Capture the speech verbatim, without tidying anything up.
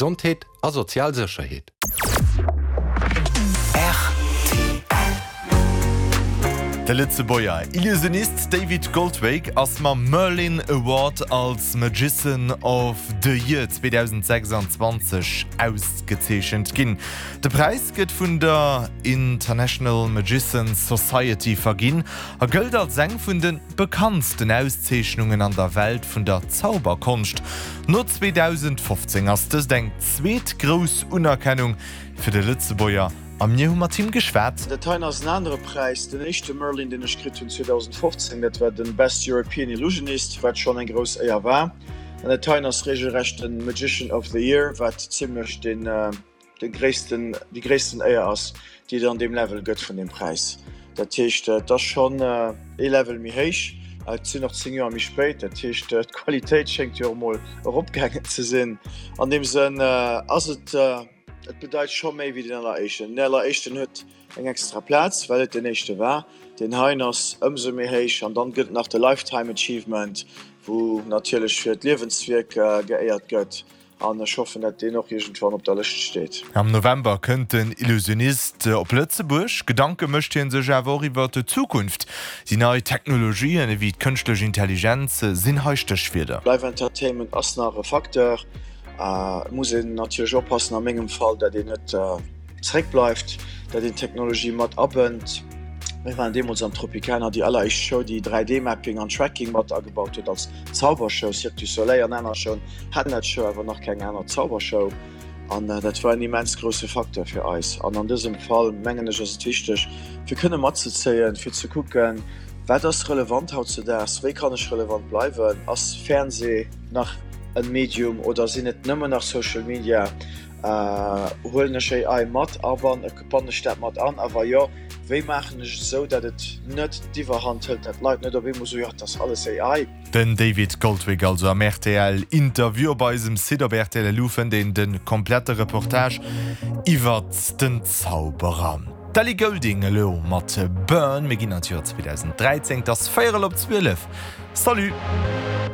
Gesondheet a sozial Sécherheet. De Lëtzebuerger Illusionist David Goldwig ass mam Merlin Award als Magician of the Year zweedausendsechsanzwanzeg ausgezeechent ginn. De Präis gëtt vun der International Magicians Society verginn a gëllt als eng vun de bekanntsten Auszeechnungen an der Welt vun der Zauberkonscht. No zweedausendfofzéng ass dëst eng zweet grouss Unerkennung fir de Lëtzebuerger a mir hu mat him geschwat. Dat heien ass en anere Präis. Den éischte Merlin, deen ech kritt hunn zweedausendfofzéng, dat war de Best European Illusionist, wat schonn eng grouss Éier war. An dat heien ass regelrecht de Magician of the Year, wat zimlech den, de gréissten, déi gréissten Éier ass, déi et an deem Level gëtt vun deem Präis. Dat heescht, et ass schonn ee Level méi héich. Et sinn och zéng Joer méi spéit, dat heescht, d'Qualitéit schéngt jo och emol eropgaangen ze sinn. An deem Sënn ass et, Et bedeit scho méi wéi den alleréischten. Den alleréischten huet eng extra Plaz, well et den éischte war. Deen heien ass ëmsou méi héich. An dann gëtt et nach de Lifetime Achievement, wou natierlech fir d'Liewenswierk geéiert gëtt. An ech hoffen, dat deen och iergendwann op der Lëscht steet. Am November kënnt den Illusionist op Lëtzebuerg. Gedanke mécht hie sech awer och iwwer d'Zukunft. Déi nei Technologien ewéi d'kënschtlech Intelligenz sinn hei Stéchwierder. Live Entertainment ass nach e Facteur. Et muss een natierlech oppassen, a mengem Fall, dat een net zeréckbleift, dat een d'Technologie mat abënnt. Mir waren deemools am Tropicana déi alleréischt Show, déi dräi D Mapping an Tracking mat agebaut huet als Zaubershow. Cirque du Soleil an aner Showen haten dat scho, awer nach keng aner Zaubershow. An dat war en immens grousse Facteur fir eis. An an dësem Fall, mengen ech, ass et wichteg, fir kënne matzezéien, fir ze kucken, wat ass relevant hautzedaags, wéi kann ech relevant bleiwen, ass Fernsee nach en Medium oder sinn et nëmmen nach Social Media? Huelen ech A I mat a wann, bannen ech dat mat an a wa jo, wéi maachen ech et esou, datt et net d'Iwwerhand hëlt, datt d'Leit net op eemol soen, jo, et ass alles A I. Den David Goldwig also am R T L Interview. Op eisem Site op R T L L U fënnt een de komplette Reportage iwwert den Zauberer. D'Ellie Goulding elo mat Burn. Mir ginn an d'Joer zweedausend dräizéng, et ass véierel op zwielef. Salut!